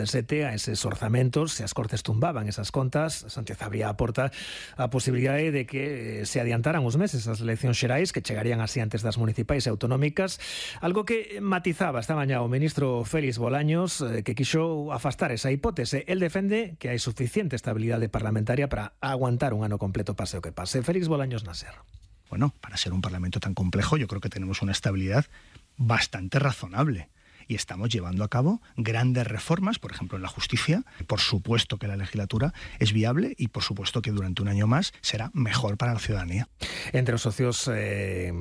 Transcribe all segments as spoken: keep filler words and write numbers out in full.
sete a eses orzamentos, se as Cortes tumbaban esas contas, Sánchez abría a porta a posibilidade de que se adiantaran os meses as eleccións xerais que chegarían así antes das municipais e autonómicas, algo que matizaba esta mañá o ministro Félix Bolaños, que quixo afastar esa hipótese. El defende que hai suficiente estabilidade parlamentaria para aguantar un ano completo pase o que pase. Félix Bolaños Nasser. Bueno, para ser un parlamento tan complejo yo creo que tenemos una estabilidad bastante razonable. Y estamos llevando a cabo grandes reformas, por ejemplo, en la justicia. Por supuesto que la legislatura es viable y por supuesto que durante un año más será mejor para la ciudadanía. Entre os socios eh,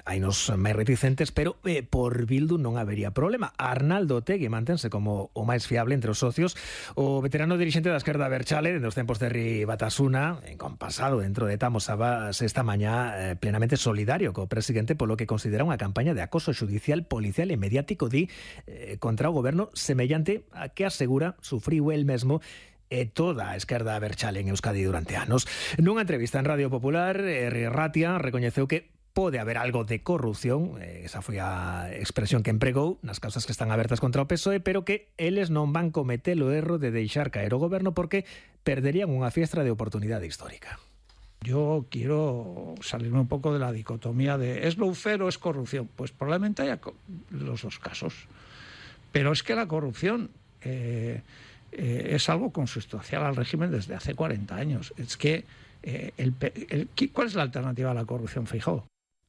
hai nos máis reticentes, pero eh, por Bildu non habería problema. Arnaldo Otegi mantense como o máis fiable entre os socios. O veterano dirixente da esquerda Berchale, dende os tempos de Herri Batasuna, compasado dentro de Tamos Abas esta mañá, eh, plenamente solidario co presidente polo que considera unha campaña de acoso judicial, policial e mediático di Eh, contra o goberno semellante a que asegura sufriu el mesmo e toda a esquerda berchale en Euskadi durante anos. Nunha entrevista en Radio Popular, Herri Ratia recoñeceu que pode haber algo de corrupción, eh, esa foi a expresión que empregou nas causas que están abertas contra o P S O E, pero que eles non van cometer o erro de deixar caer o goberno porque perderían unha fiestra de oportunidade histórica. Yo quiero salirme un poco de la dicotomía de ¿es lawfare o es corrupción? Pues probablemente haya los dos casos. Pero es que la corrupción eh, eh, es algo consustancial al régimen desde hace cuarenta años. Es que, eh, el, el, ¿cuál es la alternativa a la corrupción, Feijóo?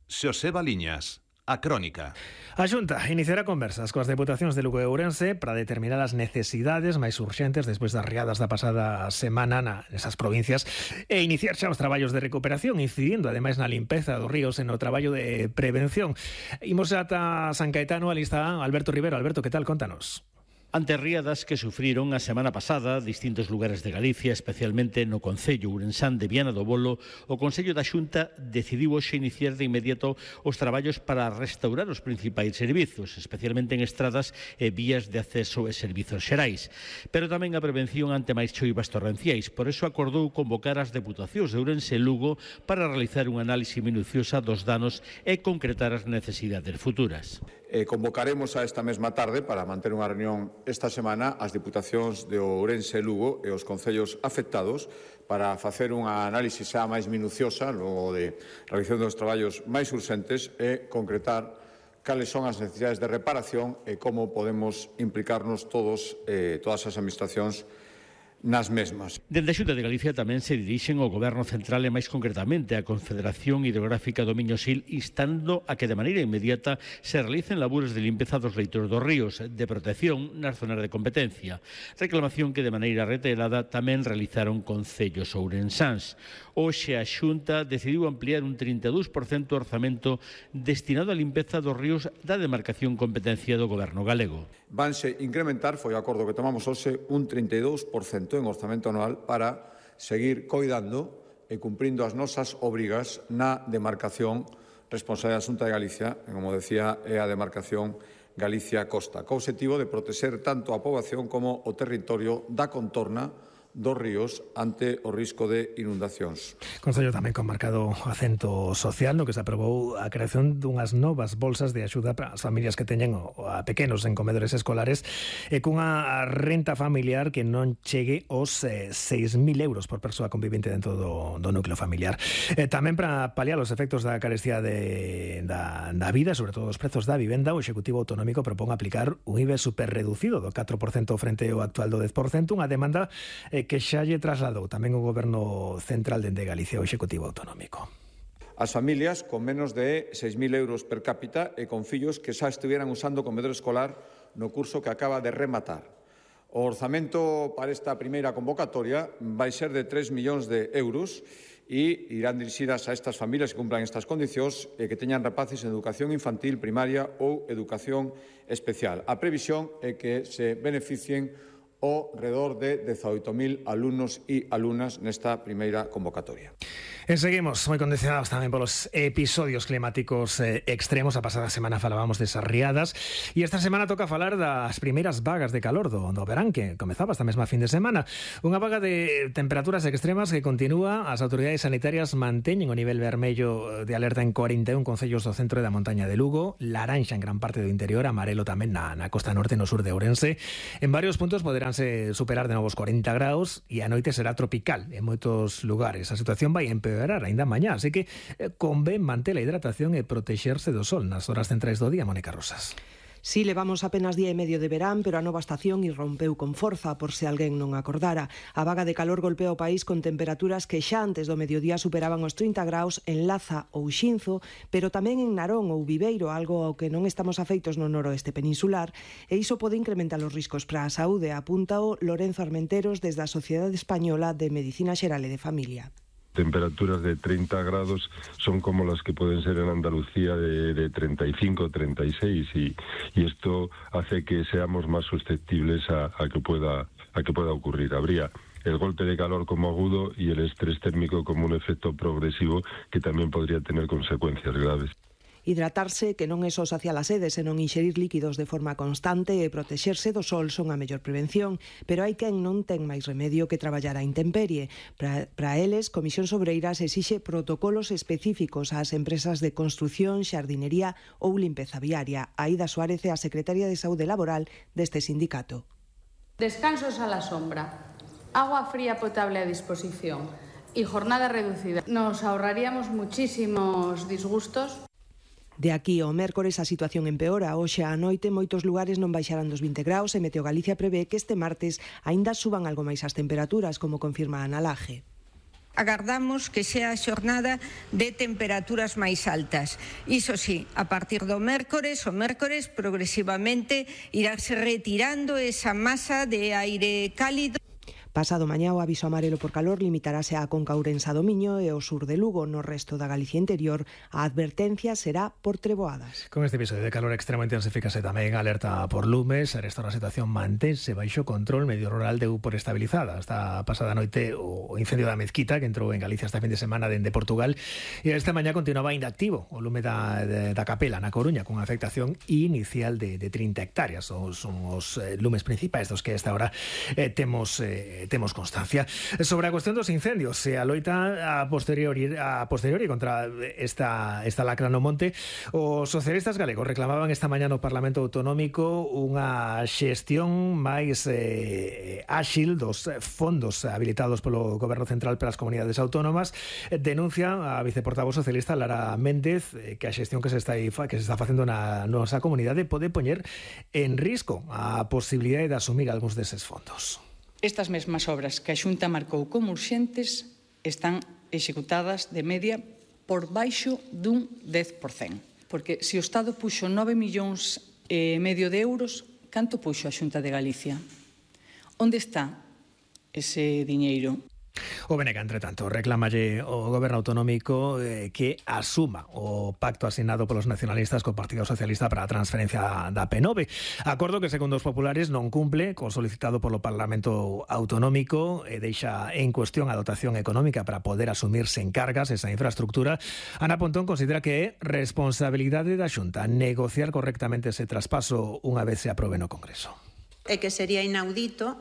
Xosé Baliñas. A Crónica. A Xunta iniciará conversas coas deputacións de Lugo e Ourense para determinar as necesidades máis urxentes despois das riadas da pasada semana nesas provincias e iniciar xa os traballos de recuperación, incidindo ademais na limpeza dos ríos e no traballo de prevención. Imos ata San Caetano, ali está Alberto Rivero. Alberto, que tal? Contanos. Ante riadas que sufriron a semana pasada distintos lugares de Galicia, especialmente no concello ourensán de Viana do Bolo, o Consello da Xunta decidiu hoxe iniciar de inmediato os traballos para restaurar os principais servizos, especialmente en estradas e vías de acceso e servizos xerais, pero tamén a prevención ante máis choivas torrenciais. Por eso acordou convocar as deputacións de Ourense e Lugo para realizar unha análise minuciosa dos danos e concretar as necesidades futuras. Eh, convocaremos a esta mesma tarde para manter unha reunión esta semana as Diputacións de Ourense e Lugo e os concellos afectados para facer unha análise xa máis minuciosa logo de realización dos traballos máis urxentes e concretar cales son as necesidades de reparación e como podemos implicarnos todos, eh, todas as administracións nas mesmas. Dende a Xunta de Galicia tamén se dirixen ao Goberno Central e máis concretamente á Confederación Hidrográfica do Miño Sil, instando a que de maneira inmediata se realicen labores de limpeza dos leitos dos ríos, de protección nas zonas de competencia. Reclamación que de maneira reiterada tamén realizaron concellos ourensáns. Hoxe a Xunta decidiu ampliar un trinta e dous por cento o orzamento destinado á limpeza dos ríos da demarcación competencia do Goberno galego. Vanse incrementar, foi o acordo que tomamos hoxe, un trinta e dous por cento en orzamento anual para seguir coidando e cumprindo as nosas obrigas na demarcación responsable da Xunta de Galicia, e, como decía, é a demarcación Galicia-Costa, co obxectivo de protexer tanto a poboación como o territorio da contorna dos ríos ante o risco de inundacións. Consello tamén con marcado acento social no que se aprobou a creación dunhas novas bolsas de axuda para as familias que teñen a pequenos en comedores escolares e cunha renta familiar que non chegue aos eh, seis mil euros por persoa convivente dentro do, do núcleo familiar. Eh, tamén para paliar os efectos da carestía de, da, da vida, sobre todo os prezos da vivenda, o Executivo Autonómico propón aplicar un I V A superreducido do catro por cento frente ao actual do dez por cento, unha demanda eh, que xa lle trasladou tamén o Goberno Central dende Galicia ao Executivo Autonómico. As familias con menos de seis mil euros per cápita e con fillos que xa estuvieran usando comedor escolar no curso que acaba de rematar. O orzamento para esta primeira convocatoria vai ser de tres millóns de euros e irán dirixidas a estas familias que cumplan estas condicións e que teñan rapaces en educación infantil, primaria ou educación especial. A previsión é que se beneficien o redor de dezaoito mil alumnos e alumnas nesta primeira convocatoria. E seguimos moi condicionados tamén polos episodios climáticos eh, extremos. A pasada semana falábamos desas riadas e esta semana toca falar das primeiras vagas de calor do, do verán que comezaba esta mesma fin de semana. Unha vaga de temperaturas extremas que continúa. As autoridades sanitarias manteñen o nivel vermello de alerta en cuarenta e un concellos do centro e da montaña de Lugo, laranxa en gran parte do interior, amarelo tamén na, na costa norte no sur de Ourense. En varios puntos poderánse superar de novos cuarenta graus e a noite será tropical en moitos lugares. A situación vai empeorar ainda mañá, así que eh, convén manter a hidratación e protexerse do sol nas horas centrais do día, Mónica Rosas. Si, levamos apenas día e medio de verán, pero a nova estación irrompeu con forza, por se alguén non acordara. A vaga de calor golpea o país con temperaturas que xa antes do mediodía superaban os trinta graus en Laza ou Xinzo, pero tamén en Narón ou Viveiro, algo ao que non estamos afeitos no noroeste peninsular, e iso pode incrementar os riscos para a saúde, apunta o Lorenzo Armenteros desde a Sociedade Española de Medicina Xeral e de Familia. Temperaturas de treinta grados son como las que pueden ser en Andalucía de, de treinta y cinco, treinta y seis y, y esto hace que seamos más susceptibles a, a que pueda a que pueda ocurrir. Habría el golpe de calor como agudo y el estrés térmico como un efecto progresivo que también podría tener consecuencias graves. Hidratarse, que non é só saciar a sede, senón inxerir líquidos de forma constante e protexerse do sol son a mellor prevención, pero hai quen non ten máis remedio que traballar a intemperie. Para, para eles, Comisión Sobreiras exixe protocolos específicos ás empresas de construción, xardinería ou limpeza viaria. Aida Suárez é a secretaria de Saúde Laboral deste sindicato. Descansos a la sombra, agua fría potable a disposición y jornada reducida. Nos ahorraríamos muchísimos disgustos. De aquí ao mércores a situación empeora. Hoxe á noite moitos lugares non baixarán dos vinte graus e Meteo Galicia prevé que este martes aínda suban algo máis as temperaturas, como confirma Ana Laje. Agardamos que sea a xornada de temperaturas máis altas. Iso sí, a partir do mércores, o mércores progresivamente irase retirando esa masa de aire cálido. Pasado mañá o aviso amarelo por calor limitarase á Conca Ourensa do Miño e ao sur de Lugo. No resto da Galicia interior a advertencia será por treboadas. Con este episodio de calor extremo intensifícase tamén a alerta por lumes. A esta situación mantense baixo control. Medio rural deu por estabilizada. Esta pasada noite o incendio da Mezquita que entrou en Galicia este fin de semana dende Portugal e esta mañá continuaba inactivo o lume da, de, da Capela na Coruña con afectación inicial de, de trinta hectáreas. Son, son os eh, lumes principais dos que esta hora eh, temos eh, temos constancia. Sobre a cuestión dos incendios, se a loita a posteriori, a posteriori contra esta, esta lacra no monte, os socialistas galegos reclamaban esta mañá no Parlamento Autonómico unha xestión máis eh, áxil dos fondos habilitados polo Goberno Central para as comunidades autónomas. Denuncia a viceportavoz socialista Lara Méndez eh, que a xestión que se está que se está facendo na nosa comunidade pode poñer en risco a posibilidade de asumir algúns deses fondos. Estas mesmas obras que a Xunta marcou como urxentes están executadas de media por baixo dun dez por cento. Porque se o Estado puxo nove millóns e medio de euros, canto puxo a Xunta de Galicia? Onde está ese diñeiro? O Benega, entre tanto, reclamalle o Goberno Autonómico eh, que asuma o pacto asignado polos nacionalistas co Partido Socialista para a transferencia da P nove. Acordo que, segundo os populares, non cumple co solicitado polo Parlamento Autonómico e deixa en cuestión a dotación económica para poder asumirse en cargas esa infraestructura. Ana Pontón considera que é responsabilidade da Xunta negociar correctamente ese traspaso unha vez se aprobe no Congreso. É que sería inaudito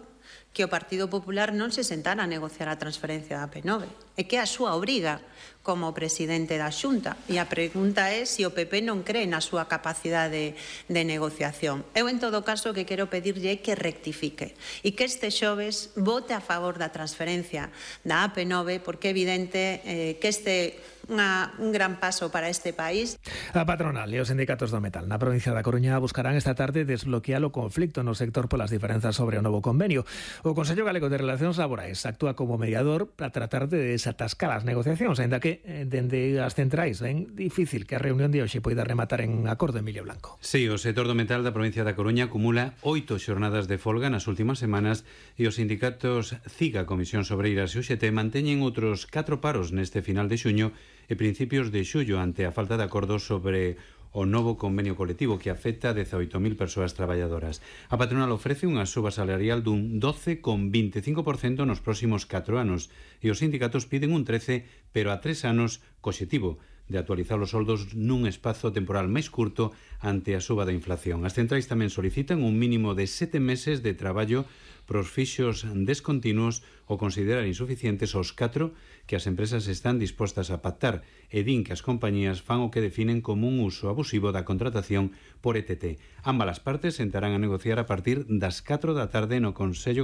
que o Partido Popular non se sentara a negociar a transferencia da P nove. É que é a súa obriga como presidente da Xunta. E a pregunta é se o P P non cree na súa capacidade de, de negociación. Eu, en todo caso, que quero pedirlle é que rectifique e que este xoves vote a favor da transferencia da A P nove, porque é evidente eh, que este Unha, un gran paso para este país. A patronal e os sindicatos do metal na provincia da Coruña buscarán esta tarde desbloquear o conflicto no sector polas diferenzas sobre o novo convenio. O Consello Galego de Relacións Laborais actúa como mediador para tratar de desatascar as negociacións, ainda que dende as centrais ven difícil que a reunión de hoxe poida rematar en acordo. Emilio Blanco. Sí, o sector do metal da provincia da Coruña acumula oito xornadas de folga nas últimas semanas e os sindicatos CIGA, Comisión Sobreiras e U X T manteñen outros catro paros neste final de xuño e principios de xullo ante a falta de acordo sobre o novo convenio colectivo que afecta a dezaoito mil persoas traballadoras. A patronal ofrece unha suba salarial dun doce coma veinticinco por cento nos próximos catro anos e os sindicatos piden un trece, pero a tres anos co obxectivo de actualizar os soldos nun espazo temporal máis curto ante a suba da inflación. As centrais tamén solicitan un mínimo de sete meses de traballo pros fixos descontinuos ou considerar insuficientes os catro que as empresas están dispostas a pactar e din que as compañías fan o que definen como un uso abusivo da contratación por E T T. Ambas as partes sentarán a negociar a partir das catro da tarde no Consello